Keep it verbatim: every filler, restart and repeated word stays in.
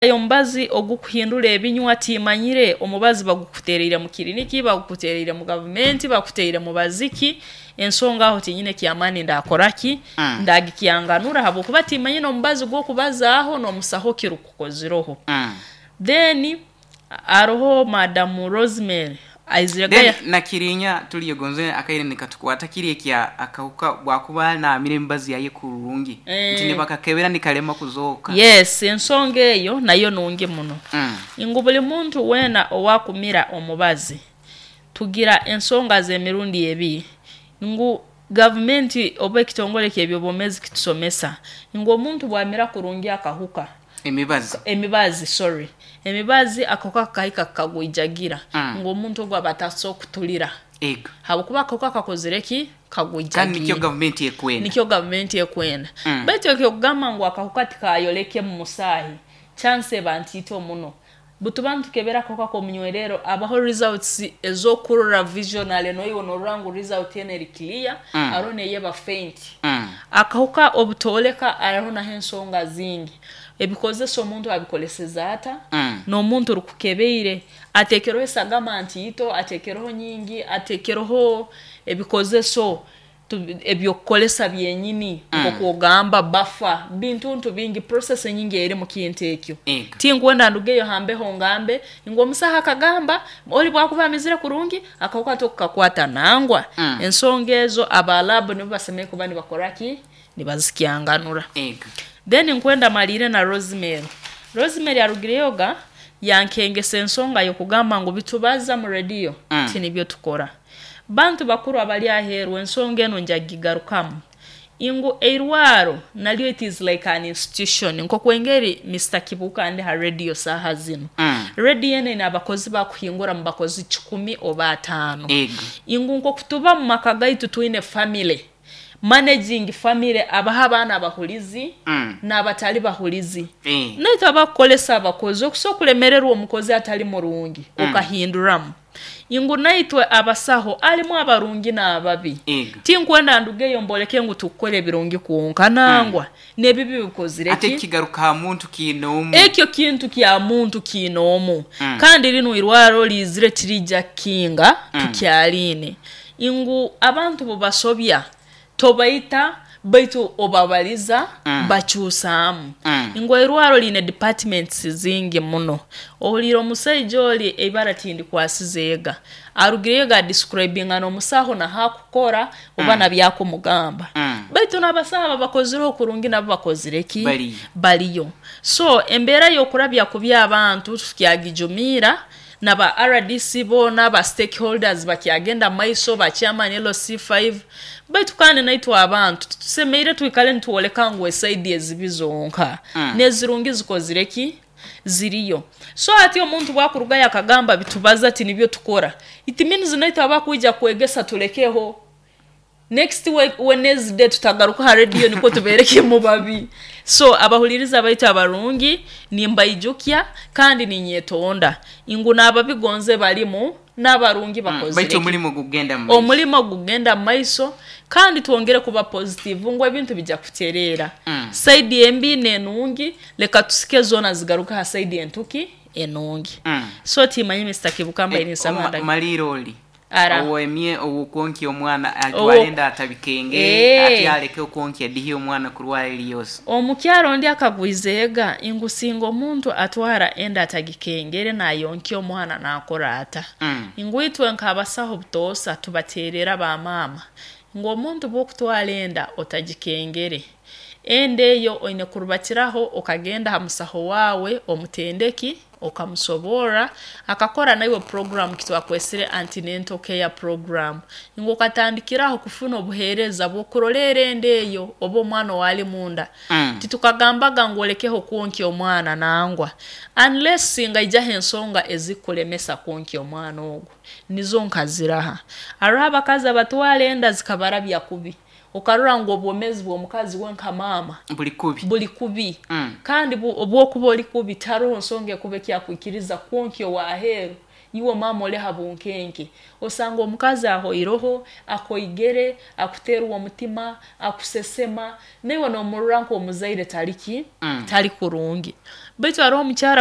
Omubazi ogukuhindura ebinywa, timanyire omubazi bagukutereire mu kiriniki, bagukutereire mu gavumenti, bagukutereire mu baziki. Ensonga aho tinyine kyamaani ndakora ki, Mm. ndagikyanganura, habwokuba timanyine omubazi gw'okubazaaho n'omusaho kirukukozireho. Mm. Then aroho Madamu Rosemary aizire Then gaya. Nakirinya tuliyo gonze akaire nikatukwata kiri ekya akahuka bwakuba naamira emibazi yaye kurungi Eh. nti nibakakebera nikalema kuzooka. Yes, ensonga eyo nayo nungi muno, Mm. ngu buli muntu weena owakumira omubazi, tugira ensonga z'emirundi ebiri, ngu gavumenti oba ekitongole ky'ebyobwomeezi kitusomesa ngu omuntu bwamira kurungi akahuka, emibazi, emibazi, sorry, emibazi, akahuka kakahika kakagwijagira, Mm. ngu omuntu ogu aba ataso kutulira, ego habwokuba akahuka kakozire ki? Kandi Kagwijagiire. Nikyo gavumenti ekwenda. Nikyo gavumenti ekwenda. Mm. Baitu ekyokugamba ngu akahuka tikayoleke mu musaahi, chance eba ntiito muno. Butuba nitukebera akahuka k'omunywerero, abaho results ez'okurora visionally, noiwe norora ngu result enu eri clear. Mm. Aroho neyeba faint. Mm. Akahuka obutooleka, araho naho ensonga zingi, ebikozesa omuntu abikoleseza ata, Mm. n'omuntu orukukebeire ateekereho esagama ntiito, ateekereho nyingi, ateekereho ebikozeso tu- ebyokukolesa byenyini, Mm. nk'okwogamba bafa bintuntu bingi, process enyingi eri mu kintu ekyo. Ego. Tinkwenda ndugeyo hambeho ngambe ngu omusaho akagamba oli bwakuba amizire kurungi akahuka tokukakwata, nangwa. Mm. Ensonga ezo aba lab nibo basemeriire kuba nibakora ki, nibazikyanganura. Ego. Then nkwenda malire na Rosemary. Rosemary arugireyoga yankengesa ensonga y'okugamba ngu bitubaza mu rediyo Mm. tinibyo tukora. Bantu bakuru abali aheeru, ensonga enu njagigarukamu ingu eirwaro nalyo it is like an institution, nkokwengeri Mister Kibuuka ndi ha radio saaha zinu. Mm. Radio eno ine abakozi bakuhingura mu bakozi kikumi oba ataano. Ego. Ingu nkokutuba mu maka gaitu twine family, managing family, abaho abaana abahulizi Mm. n'abatali bahulizi. Eh. Naitwe abakukolesa abakozi, okusobola okulemererwa omukozi atali murungi, Mm. okahinduramu ingu naitwe abasaho alimu abarungi n'ababi. Ego. Tinkwenda ndugeyo mboleke ngu tukukora ebirungi kwonka, nangwa n'ebibi bikozire Ate ki? Kigaruka ha muntu kiinoomu. Ekyo kintu kya muntu kiinoomu. Mm. Kandi linu irwaro lizire tirijja kukinga. Mm. Tukyaliine ingu abantu bubasobya tobaita, baitu obabaliza, Mm. bakyusaamu. Mm. Ngu eirwaro liine departments zingi muno. Ohuliire omusaija oli eibara tindikwasize ega arugireyo ga describinga n'omusaho nahakukora oba Mm. nabyakumugamba. Mm. Baitu n'abasaho ababakozireho kurungi nabo bakozire ki? Bariyo. Bariyo. So embeera y'okurabya kubi abantu tukyagijumiira, naba R D C boona, ba stakeholders bakyagenda maiso, ba chairman L C five. Baitu kandi naitwe abantu tusemeire twikale nitwoleka ngu esaidi ezibi zonka, Mm. n'ezirungi zikozire ki? Ziriyo. So ati omuntu bwakurugayo akagamba bitubaza ti nibyo tukora, it means naitwe abakwija kwegesa tulekeho, next we- Wednesday tutagaruka ha radio niko tubereke mu babi. So abahuliriza baitu abarungi, nimbaijukya kandi ninyetonda ingu n'ababigonze balimu n'abarungi Mm. bakozire Baitu ki? omulimu gugenda mu maiso. Omulimo gugenda mu maiso, kandi twongere kuba positive ngu ebintu bijja kutereera. Mm. Side embi n'enungi, leka tusike zoona zigaruka ha side entuki enungi. Mm. So timanyi Mister Kibuka Eh, nisaba. oma- maliro oli Ara. owemye owokwonkya omwana Owo- atwale enda atabikenge, Eh. ate aleke okwonkya dihi omwana kurwara eriyose. Omukyaro ndi akagwizeega ingu singa omuntu atwara enda atagikengere nayonkya omwana nakora ata? Mm. Ngu itwe nk'abasaho butoosa tubateerera bamaama ngu omuntu bw'okutwara enda otagikengere, enda eyo oine kurubatiraho okagenda ha musaho waawe omutendeki, okamusoborra, akakora naiwe program kitwakwesire antenatal care program, ngu okatandikiraho kufuna obuheereza bw'okuroleera enda eyo oba omwana owali munda. Mm. Titukagambaga ngu olekeho kwonkya omwana, nangwa, unless ngaijaho ensonga ezikulemesa kwonkya omwana ogwo, nizo nkaziraha. Hariho abakazi abatwara enda zikabarabya kubi, okarora ngu obwomeezi bw'omukazi we nka maama buli kubi. Buli kubi. Mm. Kandi bu- obwokuba oli kubi, taroho nsonga ekuba ekyakwikiriza kwonkya owaheeru. Iwe maama oli ha bunkenke, osanga omukazi ahoiroho, akoigere, akuteerwa omutima, akusesema, naiwe noomurora nk'omuzaire tali ki? Mm. Tali kurungi. Baitu haroho omukyara.